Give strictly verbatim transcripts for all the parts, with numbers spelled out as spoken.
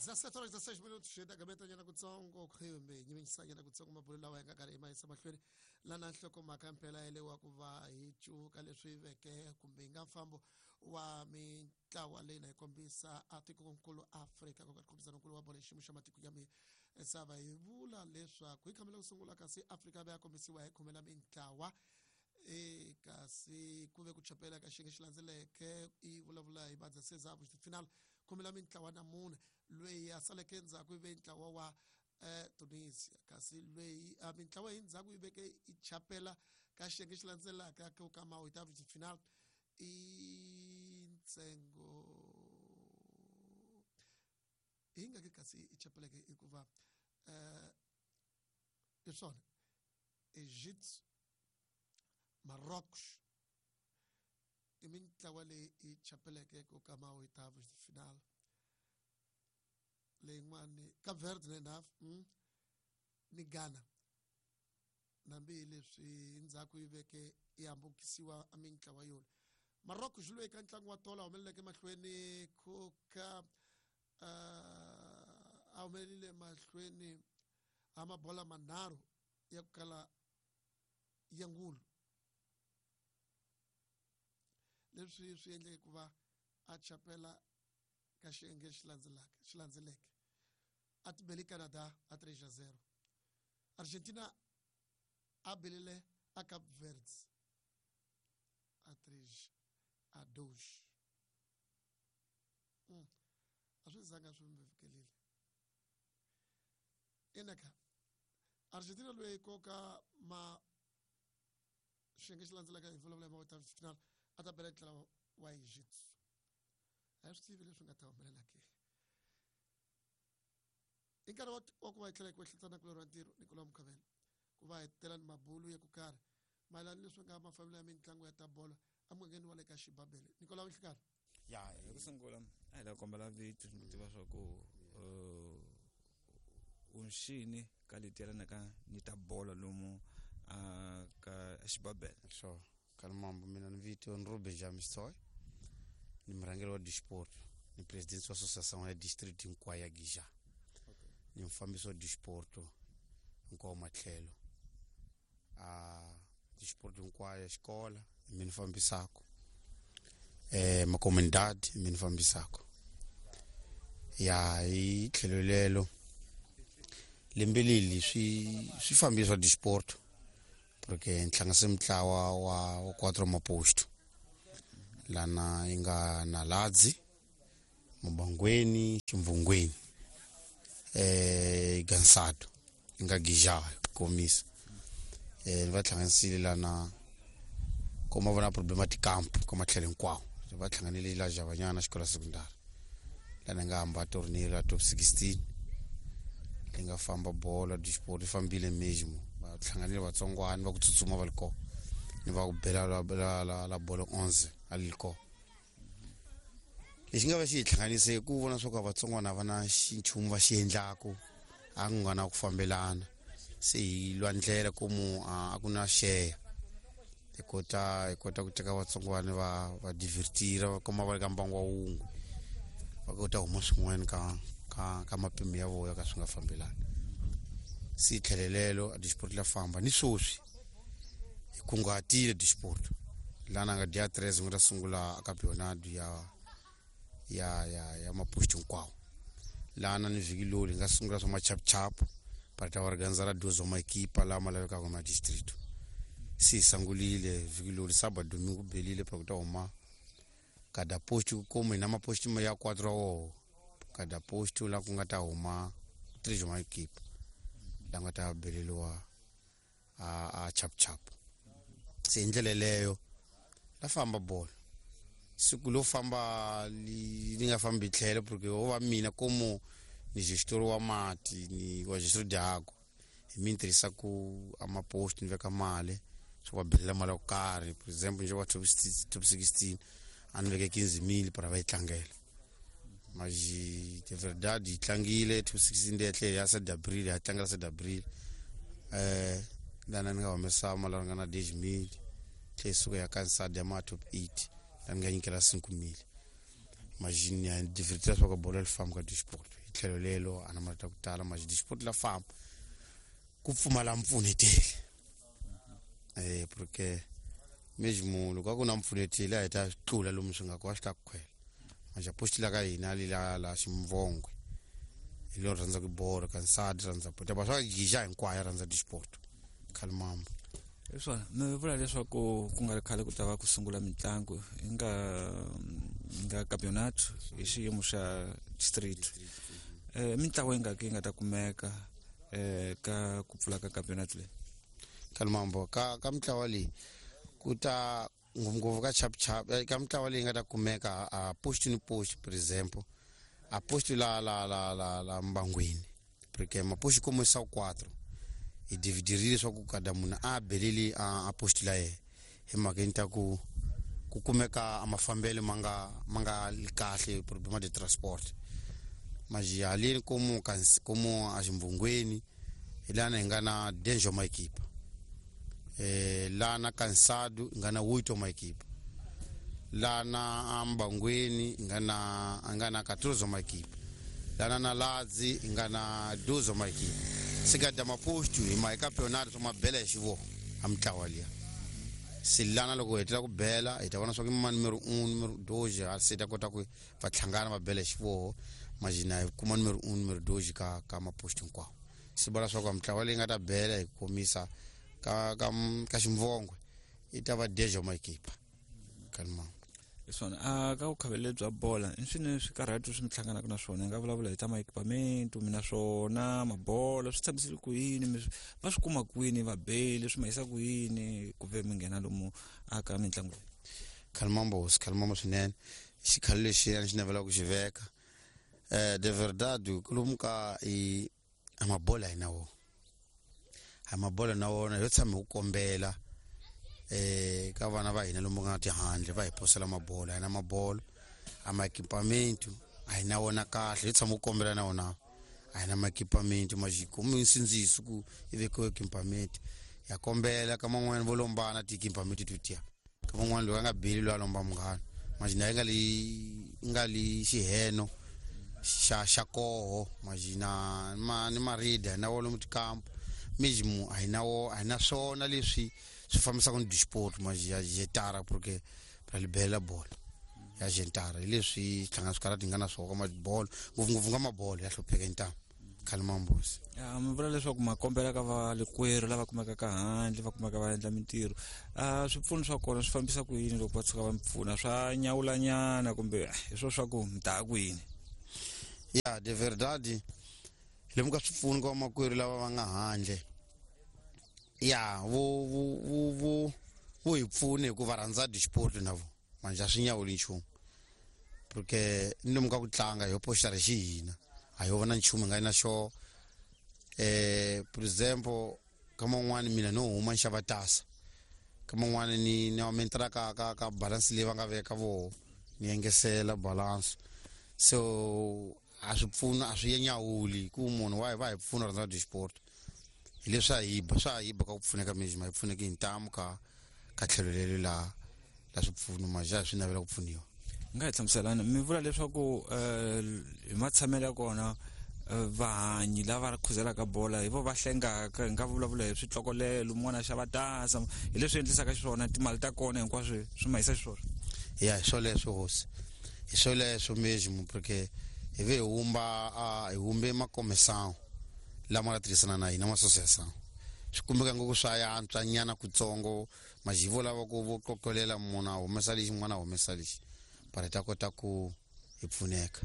Dezessete horas dezesseis minutos dagameta nyana kutsongo kumbe nyimisanyana kutsongo mabulo lawa hi nga karhi hi ma yisa mahlweni lana nhlokomhaka mpela yelewa ku va hi cuka leswi veke kumbe hi nga mfambo wa mintlawa leyi na hi kombisa a tikonkulu Afrika ku nga nkulu wa bolo xiyimo xa matiko ya misava. Hi vula leswaku hi khamela ku sungula kasi Afrika va ya kombisiwa hi khumela mintlawa e kasi ku ve ku chapela ka xiyenge xi landzeleke i vulavula hi badza final khumela mintlawa na mune loyi a saleke endzhaku yi ve ntlawa wa eh, Tunisia kasi loyi a mintlawa hi ndzhaku yi veke i chapela ka xiyenge xi landzelaka ku ka ma final i ntsengo hi nga ke kasi i chapeleke hikuva eh hi swona Egypt, Marrocos i mintlawa leyi i chapeleke ku ka ma-oitavos de final leyin'wani Cape Verde na enough mm, ni Ghana nambi leswi ndzhaku yi veke yi hambukisiwa a mintlawa yona. Marocco xi lwe eka ntlangu wa tolo a humeleleke mahlweni ku ka uh, a humelelile mahlweni a mabola manharhu ya ku kala ya ngulu leswi swi endleke ku va a chapela ka xiyenge xi landzelaka xi landzeleke a tibele Canada a three a zero. Argentina a belele a Cape Verde a três a dois. Mm. A swi zanga swi mi fikelile enaka Argentina loyi koka ma xiyenge xi landzelaka hi vulavula hi ma final a ta bela ntlawa wa Egypt. A hi swi tivi leswi nga ta humelela ke i nkarhi wa ku va hi tlhela hi ku ehleketana kulorhi wa ntirho Nicolas Mukhavela ku va hi tela ni mabulu ya ku karhi mayelana leswi nga mafambelo ya mitlangu ya ta bolo emugangeni wa le ka Xibabele. Nicolas Nhlikani. Ya hi ku sungula a hi la kombela vito ni tiva swa ku unxini ka leti yelanaka ni ta bolo lomu a ka Xibabele. Sure. Kalmambo mina ni vito ni Ruben Jamistoy ni murhangeri wa disport ni president wa association ya district hinkwayo ya Gija ni mufambisi wa disport hinkwawo matlhelo a disport hinkwayo ya xikola hi mina fambisaka eh macomunidade hi mina fambisaka ya hi tlhelo lelo lembe leli swi swi fambisa disport porque nhlanganise mintlawa wa wa quatro maposto lana yi nga Naladzi, Mubangweni, Ximvungweni eh Gansado yi nga Gija komisa eh va hlanganisile lana kuma vona problema ti camp ka matlhelo hinkwawo va hlanganile la Javanyana xikolo secondary lana nga hamba torneo la top sixteen li nga famba bola disport yi fambile mesmo va hlanganile vatsongwana va ku tsutsuma va li kona ni va ku bela la la la, la bolo onze a li kona lexi nga va xi hi hlanganise ku vona swa ku vatsongwana va na xinchumu va xi endlaku a ku nga na ku fambelana se hi lwa ndlela komu a ku na share hi kota hi kota ku teka vatsongwana va va divertira va kuma va ri ka mbangu wa wun'we va kota huma swin'wana ka ka ka mapimo ya vona ka swi nga fambelani se tlhelelelo a disport la famba ni swoswi hi kunguhatile disport lana nga dia tres nga ta sungula a campeonato ya ya ya ya maposto hinkwawo lana ni vhiki loli hi nga sungula swa machapuchapu para ta organizar duas uma equipa lama lavekaka ma distrito se hi sungulile vhiki loli sábado domingo belile para ku ta huma kada posto como hi na maposto ya quatro woho kada posto la ku nga ta huma três uma equipa la nga ta beleliwa a a chapuchapu se hi ndlela leyo la famba bolo siku lo famba li li nga fambi tlhelo porque wo va mina como ni gestor wa mati ni wa gestor de água hi mi tirhisa ku a maposto ni veka mali swo va belela mali yo karhi por exemple nje wa top top sixteen a ni veke quinze mil para va yi tlangela mas de verdade yi tlangile top sixteen leyi tlhela ya sete abril ya tlangela sete abril eh lana ni nga humesa mali yo ringana dez mil tlhela yi suka ya kansada ya ma top eight la ni nga nyikela cinco mil. Imagine ya divertir swa ku bolo li famba ka disport. tlhelo lelo a na marito ku tala ma disport la famba ku pfumala mpfuneteli eh porque mesmo loko a ku na mpfuneteli a hi ta tlula lomu swi nga ko a swi ta ku khwela manje post la ka hina li la la ximvongwe hi lo rhandza ku bolo ka nsadi rhandza bolo ba swa gija hinkwayo rhandza disport khalimambo. Hi swona mi vula leswaku ku nga ri khale ku ta va ku sungula mitlangu hi nga nga campeonato hi xiyimo xa district eh mitlangu yi nga ki yi nga ta kumeka eh ka ku pfula ka campeonato leyi khalimambo ka ka mitlawa leyi ku ta ngopfungopfu ka chapchap ka mitlawa leyi nga ta kumeka a post ni post por exemplo a post la la la la la mbangwini porque mapost como são quatro hi dividirile leswaku kada munhu a beleli a post la yena hi mhaka ta ku ku kumeka a mafambelo ma nga ma nga li kahle problema de transport maji haleni como como a ximbungweni hi lana hi nga na danger ma equipa eh lana Cansado hi nga na oito ma equipa lana ambangweni hi nga na nga na quatorze ma equipa lana na Ladzi hi nga na doze ma equipa se ka maposto hi ma campeonato swa mabela hi xivoho a mitlawa liya se lana loko hi hetela ku bela hi ta vona swa ku ma numero un numero doze a se ta kota ku va hlangana va bela hi xivoho majina hi kuma numero un numero doze ka ka maposto hinkwawo se vula swa ku mitlawa leyi nga ta bela hi komisa ka ka ka ximvongwe i ta va dejo ma equipa kalma. Hi swona a ka vukhavele bya bola i swini swikarhato swi mi hlanganaka na swona hi nga vulavula hi ta ma-equipment mi na swona mabola swi tshamisile ku yini mi va swi kuma kwini vabeli swi ma yisa ku yini ku ve mi nghena lomu aka mitlangu leyi. Khalimambo khalimambo swinene xikhalo lexi a ni xi navelaka ku xi veka eh de verdade lomu ka i a mabola hi na wona a mabola na wona yo tshama hi ku kombela eh ka vana va hina lomu nga tihandle va hi posela mabola hi na mabolo a maekipamento a hi na wona kahle hi tshama ku kombela na wona a hi na maekipamento majiko mi nsindziso ku i vekiwe ekipamento ya kombela ka man'wani vo lombana tiekipamento to tiya ka man'wani loyi a nga beli loyi a lomba munghana majina yi nga li nga li xiheno xa xa koho majina ma ni marida hi na wo lomu tikampo mesmo a hi na wo a hi na swona leswi swi fambisaka ni disport maji ya jetara porque ra libela bola ya jentara hi leswi hlangana swikarhati hi nga na swona ka mabolo ngopfungopfu nga mabolo ya hlupheka hintamu khalimambusi. Ya mi vula leswaku ma kombela ka valekwerhu lava kumekaka handle va kumeka va endla mintirho a swipfuno swa kona swi fambisa ku yini loko va tshuka va mi pfuna swa nyawulanyana kumbe hi swo swa ku mi ta ku yini? Ya de verdade lomu ka swipfuno ka vamakwerhu lava va nga handle ya vo vo vo vo vo hi pfune hikuva rhandza disport na vo manje a swi nyawuli nchumu porque ni lomu ka ku tlanga hi poxitara xi hina a hi vona nchumu hi nga na xo eh por exemplo ka man'wani mina no huma ni xava tasa ka man'wani ni ni aumentara ka ka ka balance leyi va nga veka voho ni engesela balance so a swi pfuna a swi nyawuli ku munhu wa hi va hi pfuna rhandza disport hi leswi a hi ba swa hi ba ka ku pfuneka mesmo hi pfuneki hi ntamu ka ka tlhelo lelo la la swipfuno maja swi navela ku pfuniwa. Nga hi hlamuselani mi vula leswaku hi matshamelo ya kona vahanyi lava khuzelaka bola hi vo va hlengaka hi nga vulavula hi switlokolelo mun'wana a xava tasa hi leswi endlisaka xiswona timali ta kona hinkwaswo swi ma yisa xiswona. Ya hi swoleswo hosi hi swoleswo mesmo porque hi ve hi humba hi humbe makomesawo lama nga tirhisana na hina ma-association swi kumeka ngopfu swa yantswa nyana kutsongo majivo lava ku vo qoqolela munhu a humesa lexi n'wana a humesa lexi para ta kota ku hi pfuneka.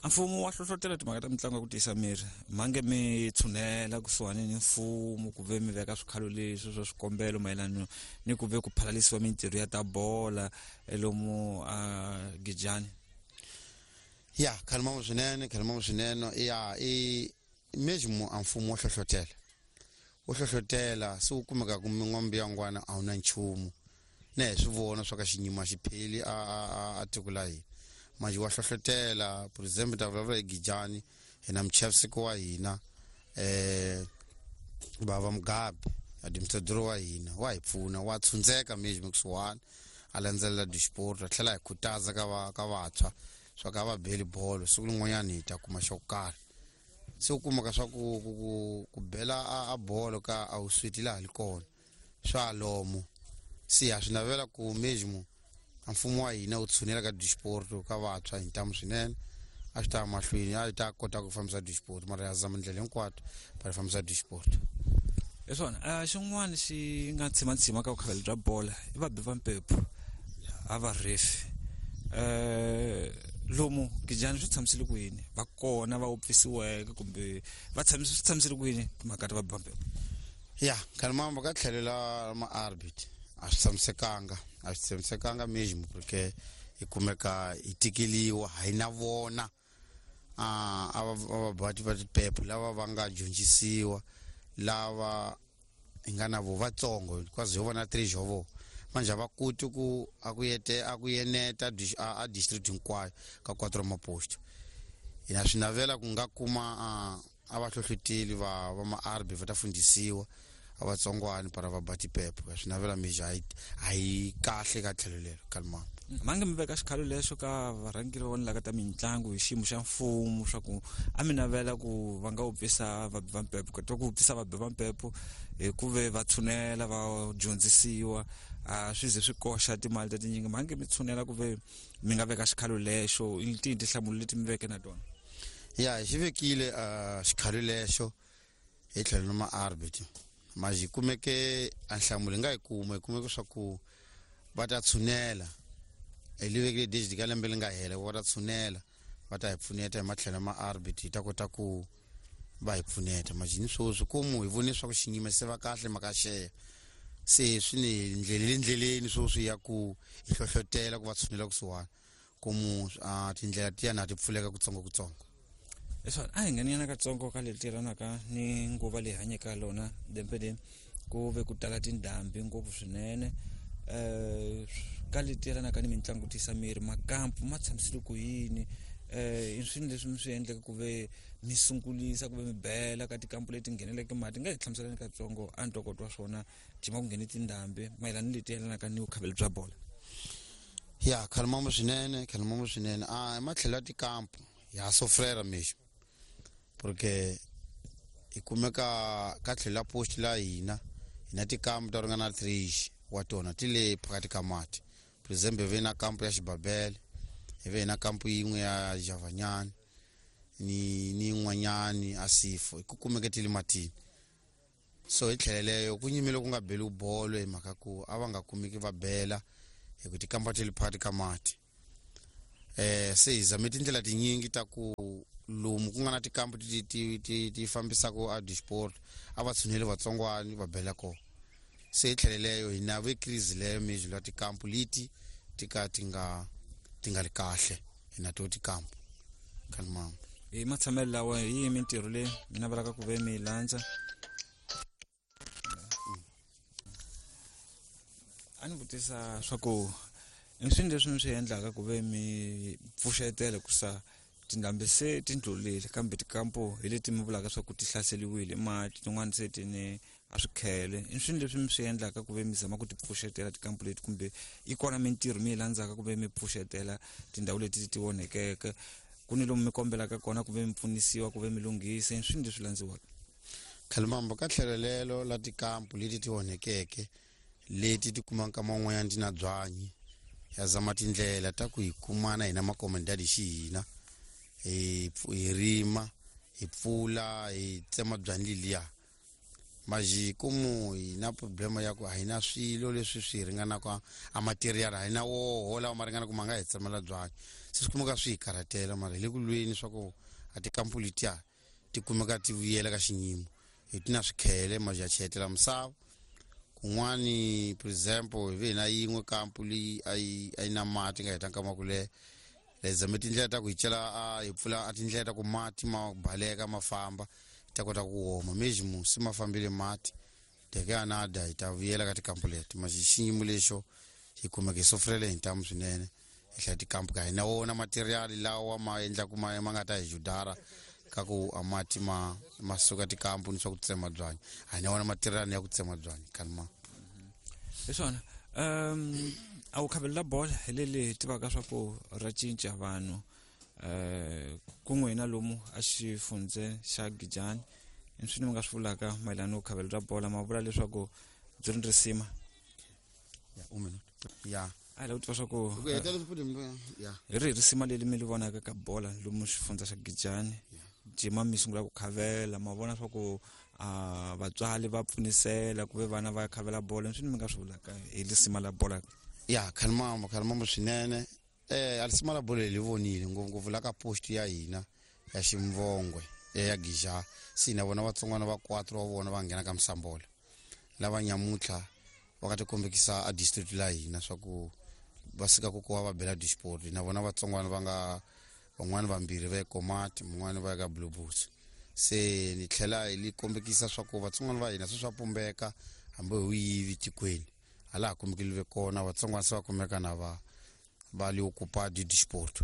A mfumo wa hlohlotela timhaka ta mitlangu ya ku tiyisa miri mange mi tshunela kusuhani ni mfumo ku ve mi veka swikhalo leswi swa swikombelo mayelana ni ku ve ku phalalisiwa mintirho ya ta bola lomu a Gijani. Ya khalimambo swinene khalimambo swinene ya i mesmo a mfumo wa hlohlotela wo hlohlotela se wu kumeka ku min'wambi ya ngwana a wu na nchumu na hi swi vona swa ka xinyima xi pheli a a a tiko la hina manje wa hlohlotela por exemple ta vulavula hi Gijani hi na muchaviseki wa hina eh bava Mugabe administrador wa hina wa hi pfuna wa tshundzeka mesmo kusuhani a landzelela disport a tlhela hi khutaza ka va ka vantshwa swa ka va beli bolo siku rin'wanyana hi ta kuma xo karhi se u kumaka swa ku ku ku, ku bela a, a bolo ka a wu switi laha li kona swa lomo se ha swi navela ku mesmo a mfumo wa hina wu tshunela ka disport ka vantshwa hi ntamu swinene a swi ta ya mahlweni a hi ta kota ku fambisa disport mara ya zama ndlela hinkwato va fambisa disport. Hi swona uh, xin'wana xi nga tshimatshima ka vukhaveli bya bola i vabi va mpepho a va refi um lomu Gijani swi tshamisile ku yini va kona va wupfisiweke kumbe va tshamise swi tshamisile ku yini timhaka ta vabi va mpepho? Ya khalimamba ka tlhelo la ma-arbit a swi tshamisekanga a swi tshamisekanga mesmo porque hi kumeka hi tikeliwa hi na vona a a vabati va tiphephu lava va nga dyondzisiwa lava hi nga na vo vatsongo because ho vona three jovo manje a va koti ku a ku yete a ku yeneta a district hinkwayo ka quatro maposto. Hina swi navela ku nga kuma a va hlohloteli va va ma-arbi va ta fundisiwa a vatsongwani para va ba tiphephu swi navela mija a yi kahle ka tlhelo lero kalimamba. Mange mi veka xikhalo lexo ka varhangeri va vona ka ta mitlangu hi xiyimo xa mfumo swa ku a mi navela ku va nga wupfisa vabi va mpepho ka ku wupfisa vabi va mpepho hi ku ve va tshunela va dyondzisiwa a swi ze swi koxa timali ta tinyingi mange mi tshunela ku ve mi nga veka xikhalo lexo i tihi tinhlamulo leti mi veke na tona? Ya hi xi vekile xikhalo lexo hi tlhelo na ma-arbit maji kumeke a nhlamulo hi nga yi kuma hi kumeke swa ku va ta tshunela hi li vekile digit ka lembe li nga hela va ta tshunela va ta hi pfuneta hi matlhelo ma arbit hi ta kota ku va hi pfuneta majini sweswi komu hi vone swa ku xinyima se va kahle maka xeya se swi ni ndleleni ndleleni sweswi ya ku hi hlohlotela ku va tshunela kusuhani komu tindlela tiya na ti pfuleka kutsongo kutsongo. Leswi a hi ngheniyana katsongo ka leti tirhanaka ni nguva leyi hanyeke lona lembe leri ku ve ku tala tindhambi ngopfu swinene um ka leti tirhanaka ni mitlangu tisa miri makampu ma tshamisile ku yini um i swilo leswi mi swi endleke ku ve mi sungulisa ku ve mi bela ka tikampu leti ngheneleke mati nga hi hlamuselani katsongo a ntokoto wa swona jima ku nghene tindhambi mayelana ni leti yelanaka ni vukhaveli bya bola? Ya khalimambo swinene khalimambo swinene a matlhelo ya tikampu ya sofrera mexo porque hi kumeka ka tlhelo la post la hina hi na tikampu ta ringana three wa tona ti le phakathi ka mati. For example hi ve na kampu ya Xibabele hi ve na kampu yin'we ya Javanyani ni ni yin'wanyani a Sifo hi ku kumeke ti le matini so hi tlhelo leyo ku nyimile ku nga beli bolo hi mhaka ku a va nga kumeki va bela hi ku tikampa ti le phakathi ka mati. Eh se hi zame tindlela tinyingi ta ku lomu ku nga na tikampu ti ti ti ti fambisaka a disport a va tshuneli vatsongwani va bela kona se hi tlhelo leyo hi na ve crise leyo mejilo ya tikampu leti ti ka ti nga ti nga ri kahle hi na to tikampu khalimambo. Hi matshamelo lawa hi yihi mintirho leyi mi navelaka ku ve mi yi landza? A ni vutisa swa ku i swilo leswi mi swi endlaka ku ve mi pfuxetela ku sa tindhambi se ti ndlulile kambe tikampu hi leti mi vulaka swa ku ti hlaseriwile mati tin'wani se ti ni a swikhele i swilo leswi mi swi endlaka ku ve mi zama ku ti pfuxetela tikampu leti kumbe yi kona mintirho mi yi landzaka ku ve mi pfuxetela tindhawu leti ti onhekeke ku ni lomu mi kombelaka kona ku ve mi pfunisiwa ku ve mi lunghisa i swilo leswi landziwaka? Khalimambo ka tlhelo lelo la tikampu leti ti onhekeke leti ti kumaka man'wanyana ti na byanyi ya zama tindlela ta ku hi kumana hina makomendadi xi hina hi hi rima hi pfula hi tsema byanyi leliya maji komu hi na problema ya ku a hi na swilo leswi swi ringanaka a material a hi na woho lawa ma ringanaka ma nga hi tsemela byanyi se swi kumeka swi hi karhatela mara hi le ku lweni swa ku a tikampu letiya ti kumeka ti vuyela ka xinyimo hi ti na swikhele maji ya cheletela misava kun'wani. For example hi ve hi na yin'we kampu leyi a yi a yi na mati nga heta nkama ku leha hi zame tindlela ta ku hi cela a hi pfula a tindlela ta ku mati ma baleka ma famba hi ta kota ku oma mejimo se ma fambile mati teke anada hi ta vuyela ka tikampu leti maji xiyimo lexo hi kumeka hi sofrele hi ntamu swinene hi hlaya tikampu ka hi na wona material lawa ma endlaku ma ma nga ta hi judara ka ku a mati ma ma suka tikampu ni swa ku tsema byanyi a hi na wona material ya ku tsema byanyi kalma. Hi swona um a wu khavelela bola hi leli hi tivaka swa ku ra cinca vanhu um ku n'wina lomu a xifundze xa Gijani i swi ni mi nga swi vulaka mayelana no khavelo ra bola ma vula leswaku byi ri risima ya un minute ya a hi lava ku tiva swa ku ku heta leswi futhi ya hi rihi risima leri mi li vonaka ka bola lomu xifundza xa Gijani jima mi sungula ku khavela ma vona swa ku a vatswari va pfunisela ku ve vana va khavela bola swi ni mi nga swi vulaka hi lisima la bola ya khalimambo khalimambo swinene eh alisima la bolo li vonile ngopfungopfu la ka post ya hina ya Ximvongwe ya Gija se na vona vatsongwana va quatro wa vona va nghena ka Msambola lava nyamutlha va ka tikombekisa a district la hina swa ku va sika ku kuva va bela disport na vona vatsongwana va nga van'wani vambirhi va ekomati mun'wani va ya ka Blue Bulls se ni tlhela hi li kombekisa swa ku vatsongwana va hina se swa pumbeka hambi hi yivi tikweni hala ha kombekeliwe kona vatsongwana se va kumeka na va va li ocupa di disport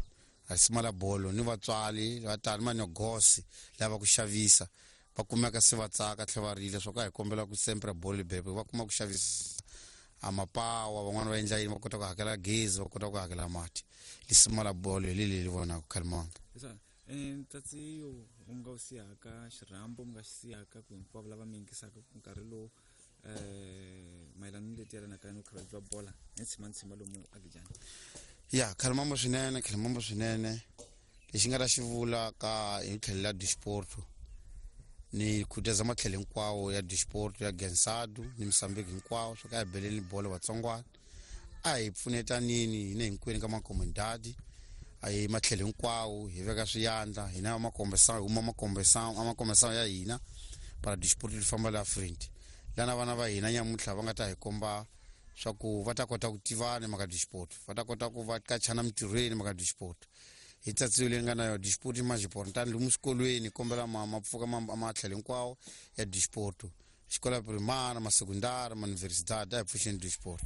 a la bolo ni vatswari va tani manyogosi lava ku xavisa va kumeka se va tsaka tlhe va rila swa ku a hi kombela ku sempre bolo bebe va kuma ku xavisa a mapawa van'wani va endla yini va kota ku hakela gezi va kota ku hakela mati lisima la bolo hi leli li vonaka khalimanga ntsatsi u nga wu siyaka xirhambo mi nga xi siyaka ku hinkwavo lava mi yingisaka ku nkarhi lowu um mayelana ni leti yelanaka ni vukhavelo bya bola ni tshima ni tshima lomu agijani ya khalimambo swinene khalimambo swinene lexi nga ta xi vula ka hi tlhelo la disport ni khutaza matlhelo hinkwawo ya disport ya Gensadu ni Mozambique hinkwawo swa ka hi beleni bolo vatsongwana a hi pfunetanini hina hinkwenu ka makomendadi a hi matlhelo hinkwawo hi veka swiyandla hina makombesa huma makombesa amakombesa ya hina para disport li famba la front lana vana va hina nyamutlha va nga ta hi komba swa ku va ta kota ku tivana mhaka disport va ta kota ku va kachana mintirhweni mhaka disport hi tsatsiwe leyi nga na yo disport i majiport tani lomu swikolweni kombela ma ma pfuka matlhelo hinkwawo ya disport xikola primary ma sekundari ma universidade a hi pfuxeni disport.